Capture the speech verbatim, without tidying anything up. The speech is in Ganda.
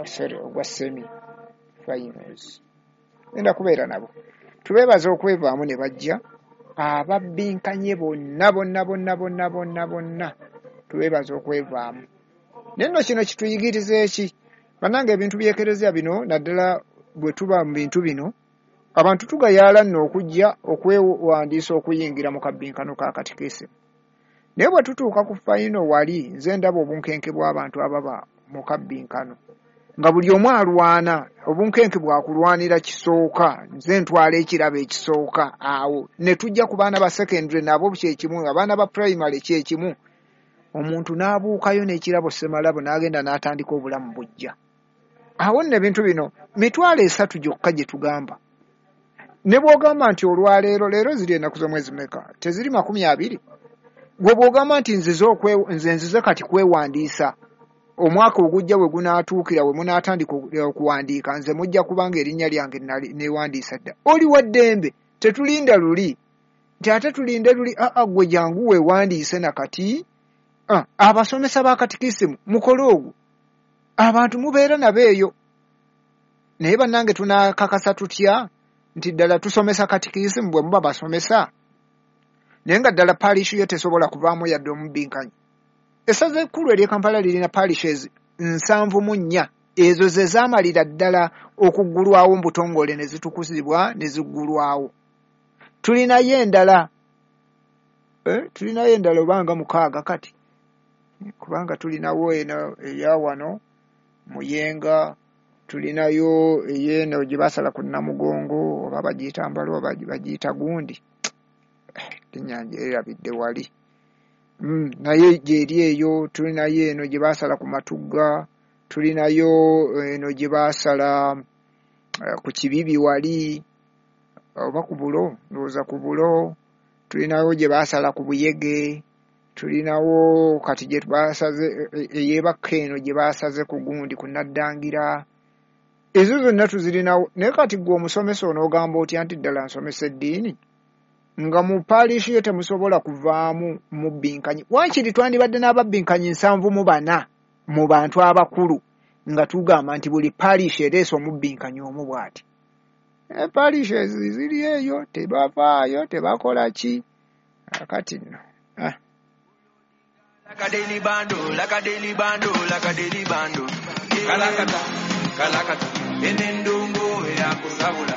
sorry, ogwa semi finals. Ngenda kubeera nabo. Tubeebaza okwevaamu ne bajja, ababbinkanye bonna bonna bonna bonna bonna bonna tubeebaza okwevaamu. Naye nno kino kituyigiriza eki? Bannange, ebintu by'ekereziya bino, naddala bwe tuba mu bintu bino, abantu tugayaala nno okujja okwewandiisa okuyingira mu kabbinkano ka katikisimu. Naye bwe tutuuka ku final wali, nze ndaba obunkenke bw'abantu ababa mu kabbinkano nga buli omu alwana, obunkenke bwakulwanira kisooka, nze ntwala ekirabo ekisooka. Awo ne tujja ku baana ba secondary, nabo kyekimu, abaana ba primary kyekimu. Omuntu n'abuukayo n'ekirabo ssemalabo n'agenda n'atandika obulamu bujja. Awo nno ebintu bino mitwalo esatu gyokka gye tugamba. Ne bw'ogamba nti olwaleero, leero ziri ennaku z'omwezi meka? Teziri makumi abiri? Gwe bw'ogamba nti nzize nze nzize kati kwewandiisa, omwaka ogujja we gunaatuukira, we munaatandika okuwandiika, nze mujja kubanga erinnya lyange neewandiisa dda. Oli wa ddembe, tetulinda luli nti ate tulinde luli. Aa, gwe jangu weewandiise nakati. Abasomesa ba katikisimu, mukole ogwo, abantu mubeera nabo eyo. Naye bannange, tunaakakasa tutya nti ddala tusomesa katikisimu bwe muba basomesa, naye nga ddala parish yo tesobola kuvaamu yadde omubinkanyi? Essaza ekkulu ery'e Kampala lirina parishes nsanvu mu nnya. Ezo ze zaamalira ddala okuggulwawo mu butongole ne zitukuzibwa ne ziggulwawo. Tulinayo endala, eh, tulinayo endala obanga mukaaga kati, kubanga tulinawo eno eya wano Muyenga, tulinayo ey'eno gye basala ku Namugongo, oba bagiyita Mbalo oba bagiyita gundi, linnya ngyerabidde wali, mm, naye gyeri eyo. Tulinayo eno gye basala ku Matugga, tulinayo eno gye basala uh, ku Kibibi wali, oba ku Bulo, ndowooza ku Bulo. Tulinayo gye basala ku Buyege, tulinawo kati gye basaze ey'ebakka eno gye basaze ku gundi, ku Naddangira. Ezo zonna tuzirinawo. Naye kati gwe omusomesa onoogamba otya nti ddala nsomesa eddiini nga mu parish yo temusobola kuvaamu mubbinkanyi? Wankiri twandibadde n'ababbinkanyi nsanvu mu bana mu bantu abakulu, nga tugamba nti buli parish ereese omubbinkanyi omu bw'ati. Parish ziri eyo tebavaayo, tebakola ki. Kati nno, ah. Like a daily bando, like a daily bando, like a daily bando. Kalakata, kalakata, enendongo ya kusabula.